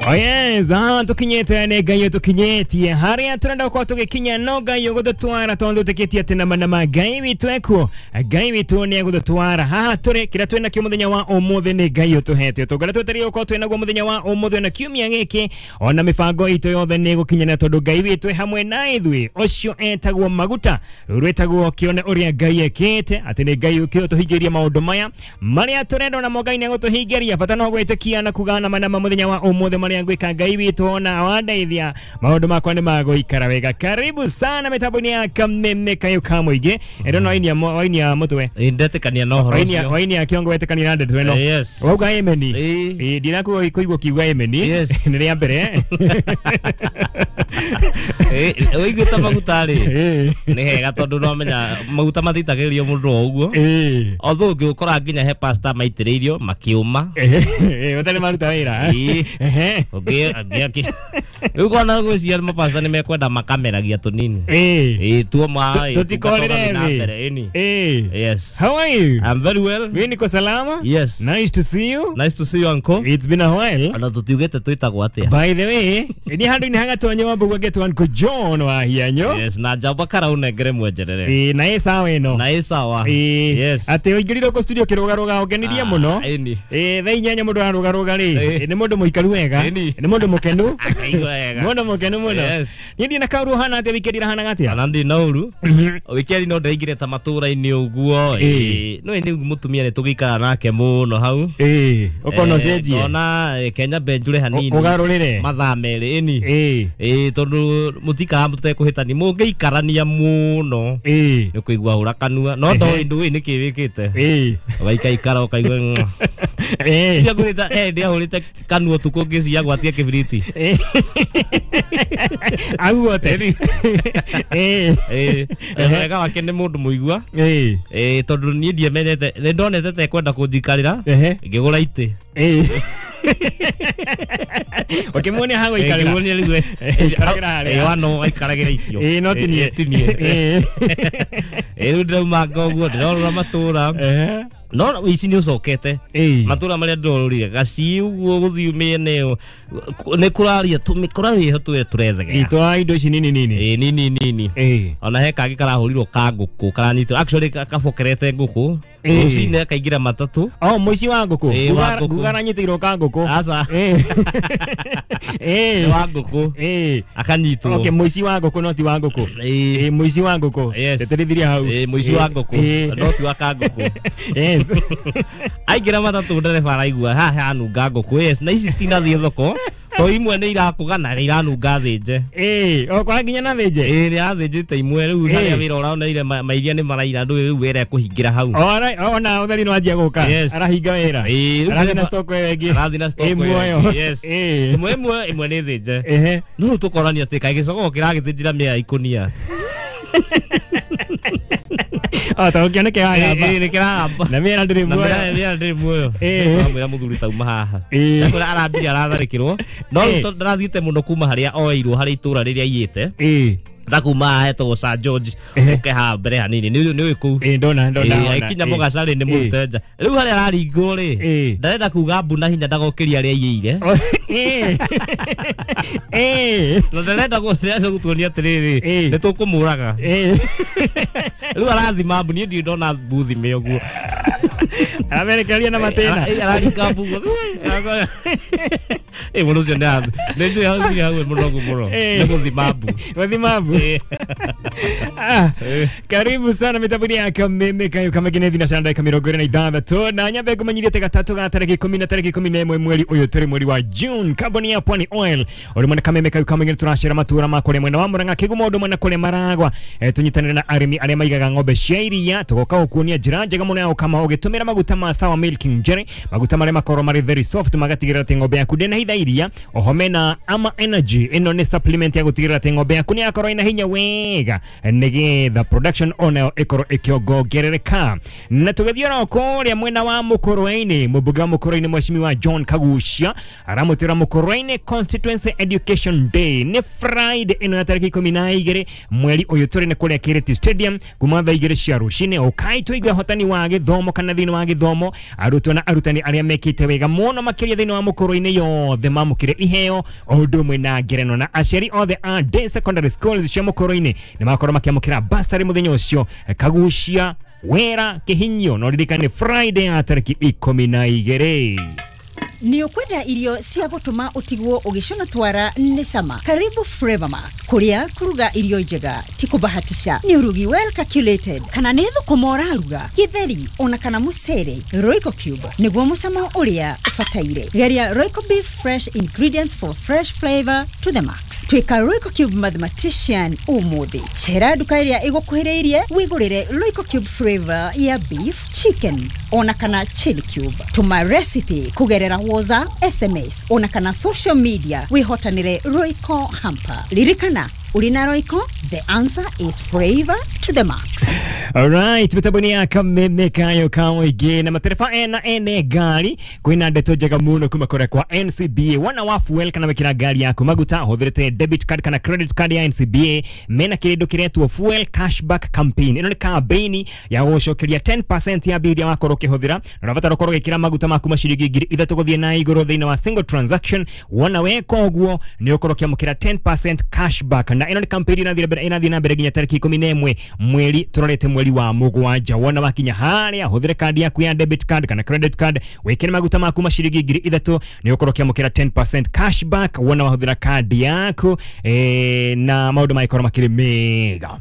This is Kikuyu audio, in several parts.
Oh yes, tukinyete nĩ Ngai tũkinyĩtie harĩa tũrenda gũkorwo tũgĩkinya no Ngai ũgũtũtwara tondũ tũtĩkĩtie atĩ nama nama Ngai witũ ekuo, Ngai witũ nĩ egũtũtwara haha tũrĩ. Kĩrĩa twĩ nakĩo mũthenya wa ũmũthĩ nĩ Ngai ũtũhete ũtonga twetereire gũkorwo twĩ naguo mũthenya wa ũmũthĩ na kiumia gĩkĩ, ona mĩbango itũ yothe nĩ ĩgũkinyanĩra tondũ Ngai witũ e hamwe na ithuĩ. Ũcio etagwo maguta, rũu rwĩtagwo kĩone ũrĩa Ngai ekĩte, atĩ nĩ Ngai ũkĩte ũtũhingĩrie maũndũ maya marĩa tũrenda, namo Ngai nĩ egũtũhingĩria. Bata no gwĩtĩkia na kuga nama nama mũthenya wa ũmũthĩ marĩa ngwĩka Ngai witũ ona wandeithia maũndũ makwa nĩ magũikara wega. Karibu sana mĩtambo-inĩ ya Kameme Kayũ ka Mũingĩ. Ĩno no wainia mũtwe. Ndetĩkania na ũhoro Wainia ũcio. wainia kĩongo wetĩkania na ndeto ĩno. Yes. Wauga ameni. Ĩĩ. Ĩĩ, ndinakuigua kũigua kiuga ameni. Yes. Nĩ rĩa mbere. Ũiguĩte maguta rĩ, Ĩĩ. nĩ hega tondũ no menya maguta matitagĩrĩrio mũndũ o ũguo. Ĩĩ. Although ũngĩũkora nginya he pastor maitĩrĩirio makĩũma. Ĩĩ, ũtarĩ maruta wĩra. Ĩĩ. Ehe. Rĩu kona ngwĩciria mapasta nĩ mekwenda makameragia tũnini. Ĩĩ. Ĩĩ, tuoma ĩ, Tũtikorĩre tũgathiĩ na thĩ. mbere, ĩni. Ĩĩ. Yes. How are you? I'm very well. Mimi niko salama. Yes. Nice to see you. Nice to see you, uncle. It's been a while. Ona tũtiugĩte twĩtagwo atĩa. By the way, ni handũ-inĩ hagatonye wa mbũgua getwo Uncle John wa Hianyo. Yes, na njamba karaunengere mwenjerere. Ĩĩ, na ĩ sawa ĩno. Na ĩ sawa. Ĩĩ. Yes. Atĩ ũingĩrire kũ studio kĩrũgarũga ũngenirie Ah, mũno. ĩni. Ĩĩ, thaa 8 mũndũ ararũgarũga rĩ. Ĩĩ. Nĩ mũndũ mũikaru wega. Ĩni. Nĩ mũndũ mũkenu. Akaigua wega. Mũndũ mũkenu mũno. Yes. Niĩ ndina kaũru ũhana atĩa, wikendi ĩrahanaga atĩa? Ona ndĩ na ũru. Wikendi no ndaingĩre ta matũra-inĩ ũguo. Ĩĩ. Ĩĩ, no nĩ mũtumia nĩ tũgĩikara nake mũno hau. Ĩĩ, ũkona ũcenjie. Ngona Kenya mbenjure hanini. Ũgarũrĩre. Mathaa 2 ĩni. Ĩĩ. Ĩĩ, tondũ mũtikaraga mũtekũhĩtania mũngĩikarania mũno Ĩĩ. nĩ kũigua hũra kanua no ndoĩ ndũĩ nĩkĩ wĩkĩte. Ĩĩ. Ũgaikaikara ũkaigua mwah. Ĩĩ. Ndiahũrĩte ndiahũrĩte kanua ũtukũ ngĩciria gwatie kĩbiriti. Ĩĩ. Aguote. Ĩĩ. Ĩĩ, wega wake nĩ mũndũ mũigua. Ĩĩ. Ĩĩ, tondũ niĩ ndiamenyete nĩ ndonete ta ekwenda kũnjikarĩra. Ehe. Ngĩgũra itĩ. Ĩĩ. Ũkĩmuonia ha gũikarĩra. Ngĩmuonia rĩu Ikaragĩra harĩa. Ĩĩ, wano aikaragĩra icio. Ĩĩ, no ti niĩ. Ĩĩ, ti niĩ. Ĩĩ. Ĩĩ, rĩu ndĩraumanga ũguo ndĩrorũra matũra. Ehe. No ici nĩ ũcokete. Ĩĩ. Matũra marĩa ndĩrorũrire gaci ũguo gũthiĩ mĩena ĩyo nĩ kũraria tũmĩkora ĩho tũrethegea. Itwa indo ici nini nini. Ĩĩ, nini nini. Ĩĩ. Ona he kangĩ karahũrirwo ka ngũkũ karanyitwo actually kabokerete ngũkũ. Ĩĩ. Rũcinĩ akaingĩra matatũ. Oh, mũici wa ngũkũ. Ĩĩ, wa ngũkũ. Nguga aranyitĩirwo ka ngũkũ. Aca. Ĩĩ. Ĩĩ. Nĩ wa ngũkũ. Ĩĩ. Akanyitwo. Okay, mũici wa ngũkũ no ti wa ngũkũ. Ĩĩ. Ĩĩ, mũici wa ngũkũ. Yes. Tĩtĩrithirie hau. Ĩĩ, mũici wa ngũkũ Ĩĩ. no ti wa ka ngũkũ. Yes. Aingĩra matatũ ndereba araigua haha hanunga ngũkũ, yes, na ici citinathiĩ thoko to imwe nĩ irakũga na nĩ iranunga thĩnje. Ĩĩ, okora nginya na thĩnje. Ĩĩ, nĩ athĩnjĩte imwe rĩu. Ĩĩ. Harĩa wĩra ũraoneire mairia nĩ maraira ndũĩ rĩu wĩra ekũhingĩra hau. Alright, ona ũtheri nĩ wanjia gũka. Yes. Arahinga wĩra. Ĩĩ, rĩu Arathiĩ na ndereba stock ĩyo ĩngĩ. Arathiĩ na stock Ĩ ĩyo muoyo. ĩngĩ, yes. Ĩĩ. Ĩmwe ĩmwe nĩ thĩnje. Ehe. No rĩu tũkorania atĩ kaĩ gĩcogoo kĩragĩthĩnjĩra mĩa ikũnia. O ta ũkĩona kĩragamba. Ĩĩ, nĩ kĩragamba. Na mĩera ndĩrĩ Na muoyo. mĩera ndĩrĩ muoyo. Ĩĩ. Twamwĩra mũthuri tauma haha. Ĩĩ. Ndakũra arambire aratharĩkĩrwo no rĩu Ĩĩ. tondũ ndarathiĩte mũno kuma harĩa oeirwo harĩa itũra rĩrĩa aiyĩte. Ĩĩ. Ndakuma haha hetagwo Sir George. Ehe. Ũke haha mbere hanini nĩ ũĩ kũu. Ĩĩ, ndona ndona. Ĩĩ, Ona. aikinya Ĩĩ. mũgaca rĩ nĩ mũrute nja rĩu harĩa araringwo rĩ. Ĩĩ. Ndarenda kuga mbu na hinya ndagokĩria arĩa aiyĩire. Oh, ĩĩ. Ĩĩ. Na ndarenda gũtuonia atĩrĩrĩ Ĩĩ. nĩ tũkũmũraga. Ĩĩ. Rĩu arathima mbu, niĩ ndirĩ ndona mbu thime ũguo. Aramerekeria na matĩna. Araringa mbu ũguo. Ĩ, mũndũ ũcio nĩ njũĩ hau nginya hau mũnogu mũno. Ĩĩ. Nĩ gũthima mbu. Gũthima mbu. Ah, karibu sana mitambo-inĩ ya Kameme Kayo Kameme thina cia ndagĩka 26 na nyambe ngũmenyithie atĩ gatatũ ga tarĩki 10 na tarĩki 11 mweri ũyũ tũrĩ mweri wa June, kambuni ya Pwani Oil ũrĩ mwena Kameme Kayo Kameme tũracera matũra ma kũrĩa mwena wa Murang'a Kĩgumo ũndũ mwena kũrĩa Maragwa. Tũnyitanĩre na arĩmi arĩa maigaga ng'ombe cia iria tũgoka gũkuonia njĩra njega mũno ya gũkama ũgĩtũmĩra maguta ma Sawa Milking Jelly, maguta marĩa makorwo marĩ very soft magatigĩrĩra atĩ ng'ombe yaku ndĩnahitha iria. Oho mena Ama Energy, ĩno nĩ supplement ya gũtigĩrĩra atĩ ng'ombe yaku nĩ yakorwo ĩna hinya wega nĩgetha production onayo ĩkorwo ĩkĩongongerereka. Na tũgĩthiĩ oro kũrĩa mwena wa Mũkũrwe-inĩ, mũmbunge wa Mũkũrwe-inĩ Mheshimiwa John Kagucia aramũtĩra Mũkũrwe-inĩ Constituency Education Day nĩ Friday ĩno ya tarĩki 12 mweri ũyũ tũrĩ nĩ kũrĩa Kĩrĩti Stadium kuma thaa 2 cia rũcinĩ. Ũkai tũigue hotani wa gĩthomo kana thĩinĩ wa gĩthomo arutwo na arutani arĩa mekĩte wega mũno makĩria thĩinĩ wa Mũkũrwe-inĩ yothe. othe mamũkĩre iheo o ũndũ ũmwe na ngerenwa na aciari othe a day secondary schools cia Mũkũrũ-inĩ nĩ makorwo makĩamũkĩra basarĩ mũthenya ũcio kagucia wera kihinyo no ririkane Friday ya tariki 12. Nĩ ũkwenda irio cia gũtũma ũtigwo ũgĩcũna twara nĩ cama. Karibu Flavor Max, kũrĩa kũruga irio njega ti kũbahatisha, nĩ ũrugi well calculated, kana nĩ thũkũma ũraruga, gĩtheri ona kana mũcere. Royco Cube nĩguo mũcamo ũrĩa ũbataire. Geria Royco Beef, fresh ingredients for fresh flavor to the max. Tuĩka Royco Cube mathematician ũmũthĩ. Cera nduka ĩrĩa ĩgũkuhĩrĩirie wĩgũrĩre Royco Cube flavor ya beef, chicken ona kana chili cube. Tũma recipe kũgerera WhatsApp, SMS ona kana social media wĩhotanĩre Royco hamper. Ririkana, ũrĩ na Royco, the answer is flavor to the max. Alright, mitambo ya kameme kayo kaoige na matereba ena ene ngari kwina ndeto njega muno kuma kũrĩa kwa NCBA. Wana wa fuel kana wekira ngari yaku maguta hũthĩrĩte debit card kana credit card ya NCBA, mena kĩndũ kĩretwo fuel cashback campaign. Ĩno nĩ campaign ya gũcokeria 10% ya mbia iria wakorwo ũkĩhũthĩra na ũrabatara ũkorwo ũgĩkĩra maguta maku maciringi 3,000 gũthiĩ na igũrũ thĩinĩ wa single transaction. Wona weka ũguo nĩ ũkorwo ũkĩamũkĩra 10% cashback, na ĩno nĩ campaign ĩrathiĩ na mbere nginya tarĩki 11 mweri tũrorete mweri wa mũgwanja. Wona wakinya harĩa hũthĩre kandi yaku ya debit card kana credit card wĩkĩre maguta maku maciringi 3,000 nĩ ũkorwo ũkĩamũkĩra 10% cashback wona wahũthĩra kandi yaku na maũndũ magĩkorwo makĩrĩ mega.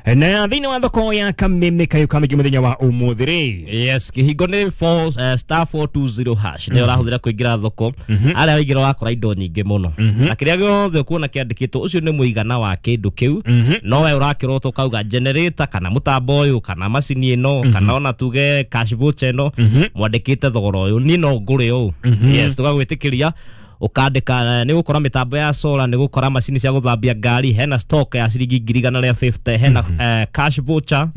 Na thĩinĩ wa thoko ya kameme kayo kamĩingĩ mũthenya wa ũmũthĩ rĩ, yes, kĩhingo nĩ 4 star 420 hash nĩ ũrahũthĩra kũingĩra thoko. Arĩa waingĩra wakora indo nyingĩ mũno, na kĩrĩa gĩothe ũkuona kĩandĩkĩtwo ũcio nĩ mũigana wa kĩndũ kĩu, no we ũrakĩrotwo ũkauga generator kana mũtambo ũyũ kana macini ĩno kana ona tuge cash voucher ĩno mwandĩkĩte thogora ũyũ, niĩ no ngũre ũũ. Yes, tũgagwĩtĩkĩria ukandika. Nĩ gũkora mĩtambo ya solar, nĩ gũkora macini cia gũthambia ngari, hena stock ya ciringi 150,000, hena cash voucher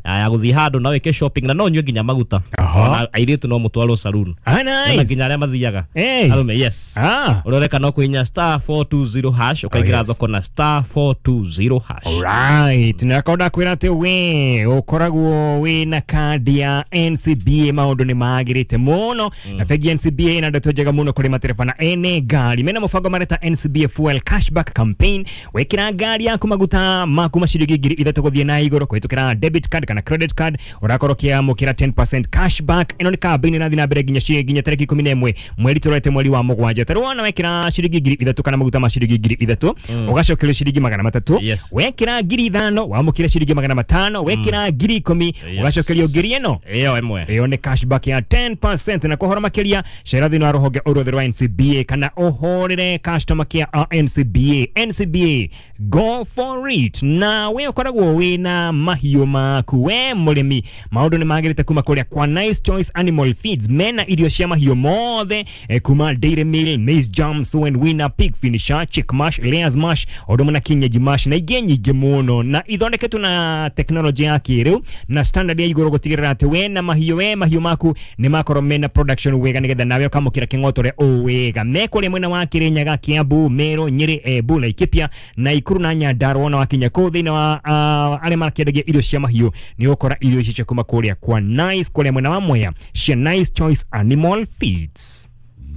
ya gũthiĩ handũ na wĩke shopping na no ũnyue nginya maguta. Ona airĩtu no mũtwarwo saloon. Nice. Nginya arĩa mathiaga arũme. Yes, ũroreka no kũhihinya star 420 hash ũkaingĩra thoko na star 420 hash. Alright, na konda kwĩra atĩ we ũkoragwo wĩna kandi ya NCBA maũndũ nĩ magĩrĩte mũno, na bengi NCBA ĩna ndeto njega mũno kũrĩ matereba na ene ngari. Mena mũbango mareta NCBA fuel cashback campaign. Wekĩra ngari yaku maguta maku maciringi 3,000 gũthiĩ na igũrũ kũhĩtũkĩra debit card kana credit card ũrakorwo ũkĩamũkĩra 10% cashback. Ĩno nĩ campaign ĩrathiĩ na mbere nginya tarĩki 11 mweri tũrorete mweri wa mũgwanja. Tarĩu wona wekĩra ciringi 3,000 kana maguta ma ciringi 3,000 ũgacokerio ciringi 300. Wekĩra 5,000 wamũkĩre ciringi 500. Wekĩra 10,000 ũgacokerio 1,000 ĩno ĩyo ĩmwe. Ĩyo nĩ cashback ya 10%. Na kũhoro makĩria cera thĩinĩ wa rũhonge o ruothe rwa NCBA kana ũhũrĩre customer care a NCBA. NCBA, go for it. Na we ũkoragwo wĩna mahiũ maku we mũrĩmi, maũndũ nĩ magĩrĩte kuma kũrĩa kwa Nice Choice Animal Feeds. Mena irio cia mahiũ mothe kuma dairy meal, maize jam, sow and winner, pig finisher, chick mash, layers mash, ũndũ ũmwe na kienyeji mash na ingĩ nyingĩ mũno, na ithondeketwo na teknolojĩ ya kĩrĩu na standard ya igũrũ gũtigĩrĩra atĩ we na mahiũ we mahiũ maku nĩ makorwo mena production wega nĩgetha nawe ũkamũkĩra kĩng'oto ũrĩa wega. Me kũrĩa mwena wa Kirinyaga, Kiambu, Meru, Nyeri, Embu, Laikipia, Nakuru na Nyandarua. Na wakinya kũu thĩinĩ wa arĩa makĩendagia irio cia mahiũ nĩ ũgũkora irio ici cia kuma kũrĩa kwa Nice kũrĩa mwena wa Mwea cia Nice Choice Animal Feeds.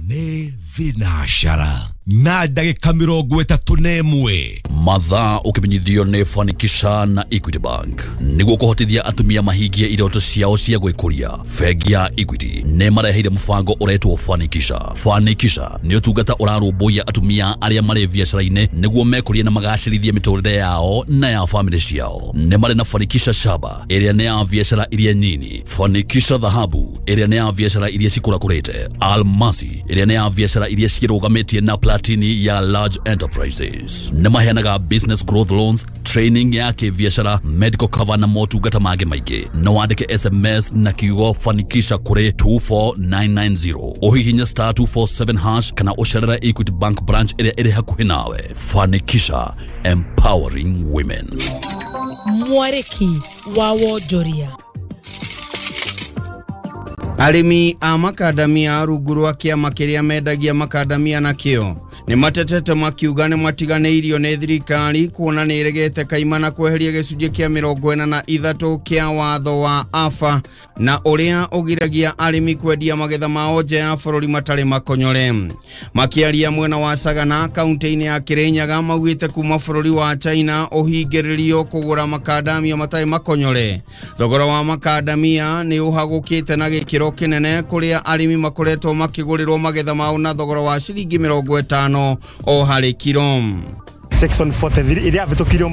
Nĩ thinacara na ndagĩka 31. Mathaa ũkĩmenyithio nĩ Fanikisha na Equity Bank nĩguo kũhotithia atumia mahingie iroto ciao cia gwĩkũria. Bengi ya Equity nĩ mareheire mũbango ũretwo Fanikisha. Fanikisha nĩ ũtungata ũrarũmbũiya atumia arĩa marĩ biacara-inĩ nĩguo mekũrie na magacĩrithie mĩtũrĩre yao na ya famĩlĩ ciao. Nĩ marĩ na Fanikisha Shaba ĩrĩa nĩ ya biacara iria nyini, Fanikisha Dhahabu ĩrĩa nĩ ya biacara iria cikũrakũrĩte, Almasi ĩrĩa nĩ ya biacara iria cirũgamĩtie na Platini ya large enterprises. Nĩ maheanaga business growth loans, training ya kĩbiacara, medical cover na motungata mangĩ maingĩ. No wandĩke SMS na kiugo Fanikisha kũrĩ 24990, ũhihinye star 247 hash kana ũcerere Equity Bank branch ĩrĩa ĩrĩ hakuhĩ nawe. Fanikisha, empowering women. Mwarĩki wa wonjoria. Arĩmi a makadamia rungu rwa kĩama kĩrĩa mendagia makadamia nakĩo nĩ matetete makiuga nĩ matiganĩirio nĩ thirikari kuona nĩ ĩregete kaimana kweheria gĩcunjĩ kĩa 43 kĩa watho wa AFA na ũrĩa ũgiragia arĩmi kwendia magetha mao nja ya bũrũri matarĩ makonyore. Makiaria mwena wa Sagana kaunti-inĩ ya Kirinyaga maugĩte kuma bũrũri wa China ũhingĩrĩrio kũgũra makadamia matarĩ makonyore. Thogora wa makadamia nĩ ũhagũkĩte na gĩkĩro kĩnene kũrĩa arĩmi makoretwo makĩgũrĩrwo magetha mao na thogora wa ciringi 50 o harĩ kiro. Section 43 iria vitukirio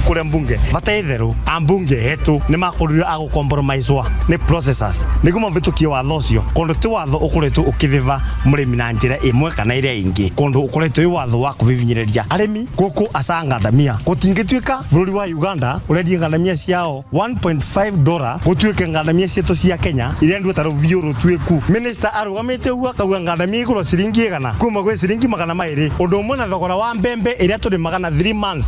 kuria mbunge bata itheru ambunge hetu ni makorirwo a gucompromisewa ni processors niguo mavitukie watho ucio kundu ti watho ukoretwo ukithiva murimi na njira imwe kana iria ingi kundu ukoretwo wi watho wa kuvivinyiriria arimi guku acangandamia gutingituika bururi wa Uganda urendia ngandamia ciao $1.5 gutuike ngandamia cietu cia Kenya iria ndu ta ruvio rutuiku. Minister arugamite uguo akauga ngandamia iguru ciringi 100 kuma gwi ciringi 200 undu umwe na thogora wa mbembe iria turi magana 3 months.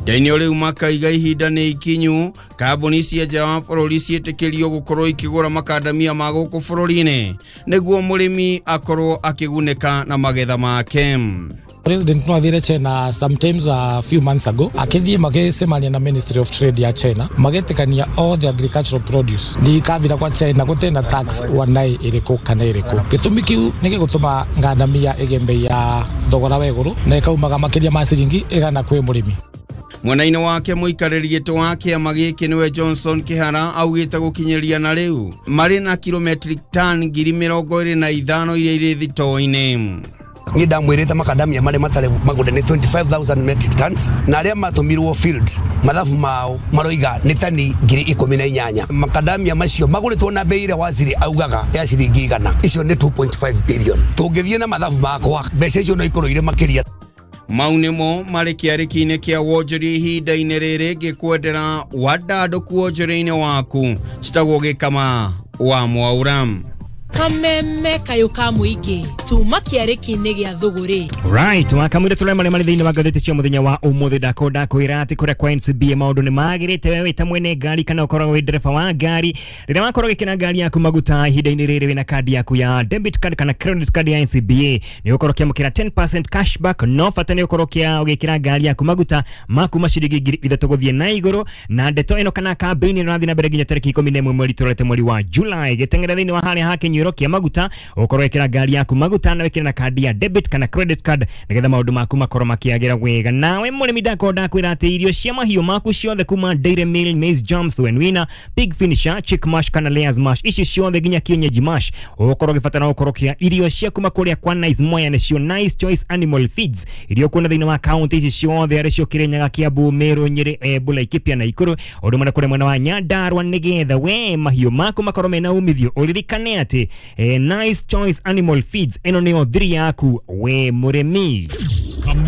Ndainio riu makaiga ihinda nĩ ikinyu kambuni cia nja wa bũrũri ciĩtĩkĩrio gũkorwo ikĩgũra makadamia ma gũkũ bũrũri-inĩ nĩguo mũrĩmi akorwo akĩgunĩka na magetha make. President no athire China sometimes a few months ago akithie magicemania na Ministry of Trade ya China magetikania all the agricultural produce ndikavira kwa China gutena tax wanai iriku kana iriku gitumi kiu nigigutuma ngandamia igie mbei ya thogora wa iguru na ikaumaga makiria ma ciringi 100 kwi murimi. Mwena-inĩ wake mũikarĩri gĩtĩ wa kĩama gĩkĩ nĩwe Johnson Kĩhara augĩte gũkinyĩria na rĩu marĩ na kilometric ton 25,000 iria irĩ thitoo-inĩ. Ni ndamwirite makadamia mare matare magunda ni 25,000 metric tons na aria matumirwo field mathabu mao maroiga ni tani 18,000. Makadamia macio maguritwo na bei ira waziri augaga ya ciringi 100, icio ni 2.5 billion. Tungithie na mathabu makwa mbeca icio no ikorwo ire makiria. Mau nĩmo marĩ kĩarĩki-inĩ kĩa wonjoria ihinda-inĩ rĩrĩ ngĩkwendera wandandũku wonjoria-inĩ waku. Citagwo Gĩkama wa Mwaura. Kameme kayo ka muingi tuma kĩarĩki-inĩ gĩa thũgũrĩ. Right, wakamwire tũrĩa marĩa marĩ thĩinĩ wa ngathĩti cia mũthenya wa ũmũthĩ. Ndakonda kwĩra atĩ kũrĩa kwa NCBA maũndũ nĩ magĩrĩte. Wewe ta mwene ngari kana ũkoragwo wĩ ndereba wa ngari, rĩrĩa wakorwo ũgĩkĩra ngari yaku maguta ihinda-inĩ rĩrĩ wĩna kandi yaku ya debit card kana credit card ya NCBA nĩ ũkorwo ũkĩamũkĩra 10% cashback. No bata nĩ ũkorwo ũgĩkĩra ngari yaku maguta ma kuma ciringi 3,000 gũthiĩ na igũrũ. Na ndeto ĩno kana kambĩini ĩno ĩrathiĩ na mbere nginya tarĩki 11 mweri tũrorete mweri wa July. Gĩteng'ere thĩinĩ wa harĩa ha kĩnyuĩro kĩa maguta ũkorwo wĩkĩra ngari yaku maguta na wĩkĩre na kandi ya debit kana credit card nigetha maũndũ maku makorwo makĩagĩra wega. Nawe mũrĩmi ndakonda kwĩra atĩ irio cia mahiũ maku ciothe kuma Dairy Meal, Maize Jams, Wenwina, Pig Finisher, Chick Mash kana Layers Mash, ici ciothe nginya kienyeji mash, ũkorwo ũgĩbatara gũkorwo kĩa irio cia kuma kũrĩa kwa Nice Moya nĩcio Nice Choice Animal Feeds irio kuona thĩinĩ wa kaunti ici ciothe arĩ cio Kirinyaga, Kiambu, Meru, Nyeri, Embu, Laikipia na Nakuru, ũndũ ũmwe na kũrĩa mwena wa Nyandarua, nĩgetha we mahiũ maku makorwo mena umithio. Ũririkane atĩ Nice Choice Animal Feeds ĩno nĩyo thiri yaku we mũrĩmi.